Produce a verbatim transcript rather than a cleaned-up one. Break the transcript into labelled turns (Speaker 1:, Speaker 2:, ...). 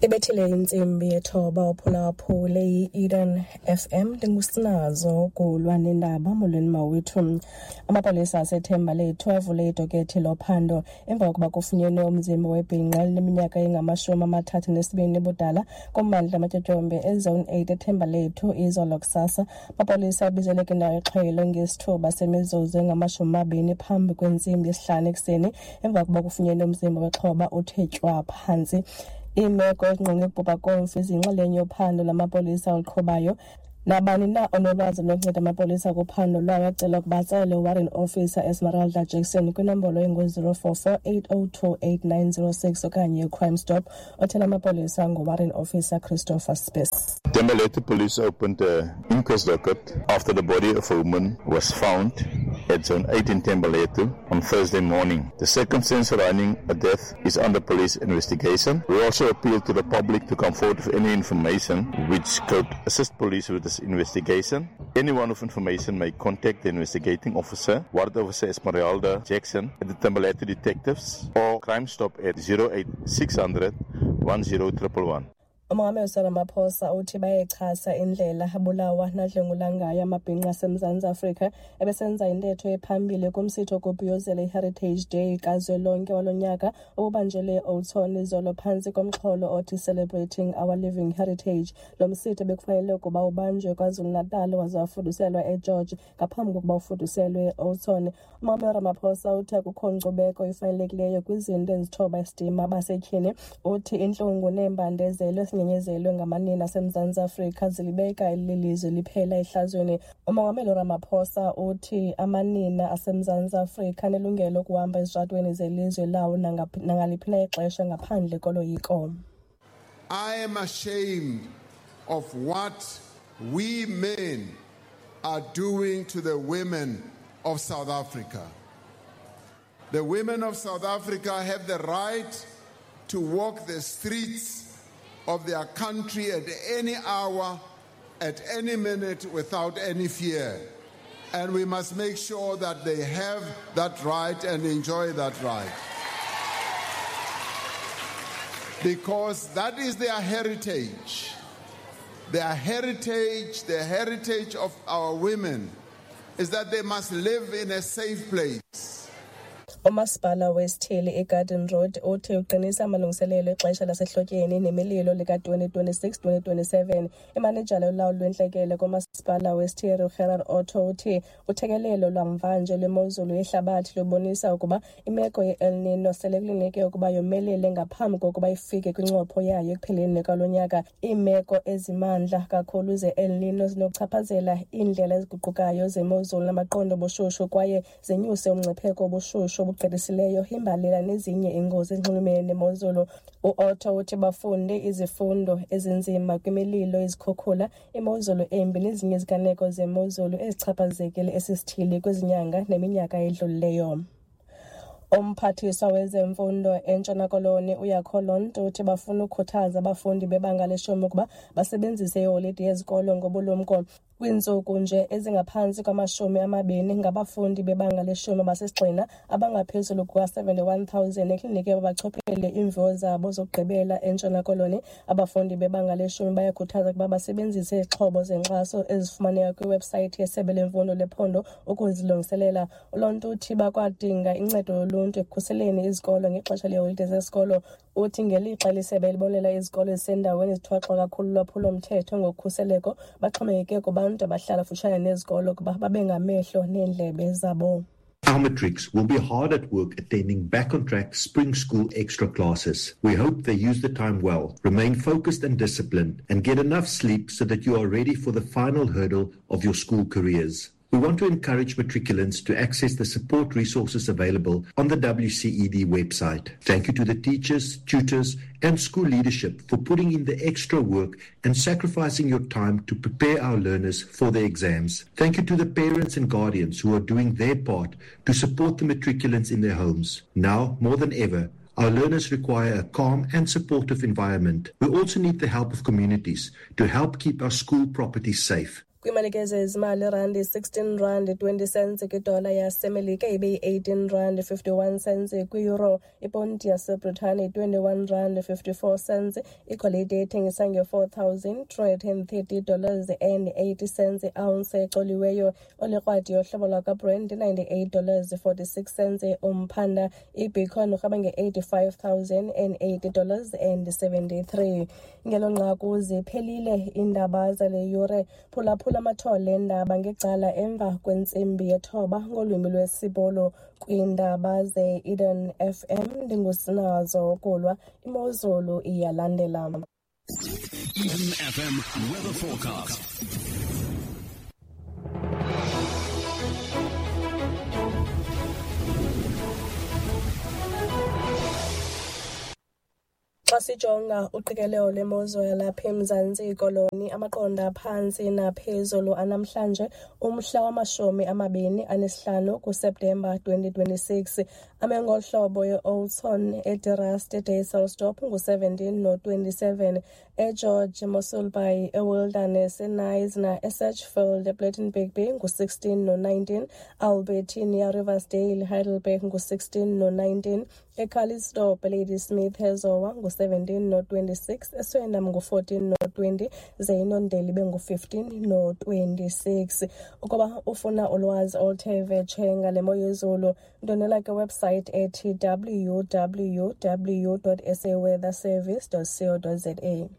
Speaker 1: Ibethile intsimbi yethoba uphulaphule i-Eden F M, ndingusinazo kulwa nendaba. Molweni mawethu. Amapolisa aseThembalethu avule idokethi lophando emva kokuba kufunyenwe umzimba webhinqa elineminyaka engamashumi amathathu nesibini ubudala kummandla amatyotyombe eZone eight eThembalethu izolo kusasa. Amapolisa abizelwe kwindawo yexhwayelo ngesithuba semizuzu engamashumi amabini phambi kwentsimbi yesihlanu ekuseni emva kokuba kufunyenwe umzimba wexhoba uthe tywaa phantsi. Iimeko ezingqonge ukubhubha komfi ziyinxalenye yophando lamapolisa oluqhubayo. Nabani na onolwazi lokunceda amapolisa kuphando lwayo acelwa ukuba atsale uWarrant Officer Esmeralda Jackson kwinombolo engu-zero four four eight oh two eight nine zero six okanye uCrime Stop othela amapolisa nguWarrant Officer Christopher Spies.
Speaker 2: Thembalethu Police opened an inquest docket after the body of a woman was found at Zone eight in Thembalethu on Thursday morning. The circumstance surrounding a death is under police investigation. We also appeal to the public to come forward with any information which could assist police with this investigation. Anyone with information may contact the investigating officer, Warrant Officer Esmeralda Jackson, at the Thembalethu Detectives or Crime Stop at zero eight six hundred one zero triple one.
Speaker 1: Umongameli Cyril Ramaphosa uthi bayayixhasa indlela abulawa nadlwengulwa ngayo amabhinqa aseMzantsi Afrika. Ebesenza intetho ephambili kumsitho wokubhiyozela iHeritage Day kazwelonke walo nyaka obubanjelwe eOudtshoorn izolo phantsi komxholo othi Celebrating Our Living Heritage. Lo msitho bekufanele ukuba ubanjwe KwaZulu-Natal waze wafuduselwa eGeorge ngaphambi kokuba ufuduselwe eOudtshoorn. Umongameli Ramaphosa uthi akukho nkcubeko ifanelekileyo kwizinto ezithoba isidima basetyhini. Uthi intlungu neembandezelo ezinyanyezelwe ngamanina aseMzantsi Afrika zilibeka eli lizwe liphela ehlazweni. Umongameli Ramaphosa uthi amanina aseMzantsi Afrika anelungelo lokuhamba ezitratweni zelizwe lawo nangaphi-, nangaliphi na ixesha ngaphandle koloyiko.
Speaker 3: I am ashamed of what we men are doing to the women of South Africa. The women of South Africa have the right to walk the streets of their country at any hour, at any minute, without any fear. And we must make sure that they have that right and enjoy that right. Because that is their heritage. Their heritage, the heritage of our women, is that they must live in a safe place.
Speaker 1: Umasipala wesithili iGarden Road uthi uqinisa amalungiselelo exesha lasehlotyeni nemililo lika-twenty twenty-six twenty twenty-seven. Imanejala yolawulo lwentlekele kumasipala wesithili uGerard Otto uthi uthekelelo lwamvanje lwemozulu yehlabathi lubonisa ukuba imeko ye-El Nino sele kulindeleke ukuba yomelele ngaphambi kokuba ifike kwincopho yayo ekupheleni kwalo nyaka. Iimeko ezimandla kakhulu ze-El Nino zinokuchaphazela iindlela eziguqukayo zemozulu namaqondo obushushu kwaye zenyuse umngcipheko wobushushu obugqithisileyo, imbalela nezinye iingozi ezinxulumene nemozulu. U-Otto uthi bafunde izifundo ezinzima kwimililo, izikhukhula, imozulu embi nezinye iziganeko zemozulu ezichaphazekile esi sithili kwizinyanga neminyaka edlulileyo. Umphathiswa wezemfundo eNtshona Koloni uJaco Londt uthi bafuna ukukhuthaza abafundi bebanga leshumi ukuba basebenzise iholide yezikolo ngobulumko. Kwiintsuku nje ezingaphantsi kwamashumi amabini ngabafundi bebanga leshumi basesigxina abangaphezulu kuka-seventy-one thousand ekliniki babachophele iimviwo zabo zokugqibela eNtshona Koloni. Abafundi bebanga leshumi bayakhuthazwa ukuba basebenzise izixhobo zenkxaso ezifumaneka kwiwebhusayithi yeSebe leMfundo lePhondo ukuzilungiselela. ULondt uthi bakwadinga incedo yoluntu ekukhuseleni izikolo ngexesha leeholide zesikolo. Uthi ngelixa lisebe libonelela izikolo ezisendaweni ezithwaxwa kakhulu lulwaphulo-mthetho ngokhuseleko, baxhomekeke kubantu abahlala kufutshane nezikolo ukuba babe ngamehlo neendlebe zabo.
Speaker 4: Our matrics will be hard at work attending back on track spring school extra classes. We hope they use the time well, remain focused and disciplined, and get enough sleep so that you are ready for the final hurdle of your school careers. We want to encourage matriculants to access the support resources available on the W C E D website. Thank you to the teachers, tutors, and school leadership for putting in the extra work and sacrificing your time to prepare our learners for their exams. Thank you to the parents and guardians who are doing their part to support the matriculants in their homes. Now, more than ever, our learners require a calm and supportive environment. We also need the help of communities to help keep our school properties safe.
Speaker 1: Kwimalike zezimali, irandi sixteen rand twenty cents kwidola yaseMelika, ibe yi-eighteen rand fifty-one cents kwi-euro. Iponti yaseBritane twenty-one rand fifty-four cents. Igolide ethengisa nge-four thousand two hundred and thirty dollars and eighty cents i-ounce ecoliweyo. Olikrwadi yohlobo lwakwaBrent ninety-eight dollars forty-six cents umphanda. IBitcoin urhweba nge-eighty-five thousand and eighty dollars and seventy-three. Ngelo nqaku ziphelile iindaba zale yure. Phulaphula amathole eendaba ngecala emva kwentsimbi yethoba ngolwimi lwesiBhulu kwiindaba ze-Eden F M. Ndingusinazo Kulwa. Imozulu iyalandela.
Speaker 5: Eden F M weather forecast.
Speaker 1: Xa sijonga uqikelelo lwemozulu yalapha eMzantsi Koloni, amaqondo aphantsi naphezulu anamhlanje umhla wamashumi amabini anesihlanu kuSeptemba twenty twenty-six. Ame ngohlobo ye-Oudtshoorn, eDe-Rust, eDysselsdorp ngu-seventeen no-twenty-seven, eGeorge, Mossel Bay, eWilderness, eKnysna, eSedgefield, ePlettenberg Bay ngu-sixteen no-nineteen, Albertinia, Riversdale, Heidelberg ngu-sixteen no-nineteen, eCalitzdorp, Ladysmith, eZowa ngu-seventeen no-twenty-six, eSwellendam ngu-fourteen no-twenty, ze iNondeli ibe ngu-fifteen no-twenty-six. Ukuba ufuna ulwazi oluthe vetshe ngale mo yezulu, ndonela kwiwebsite ethi w w w dot s a weather service dot co dot z a.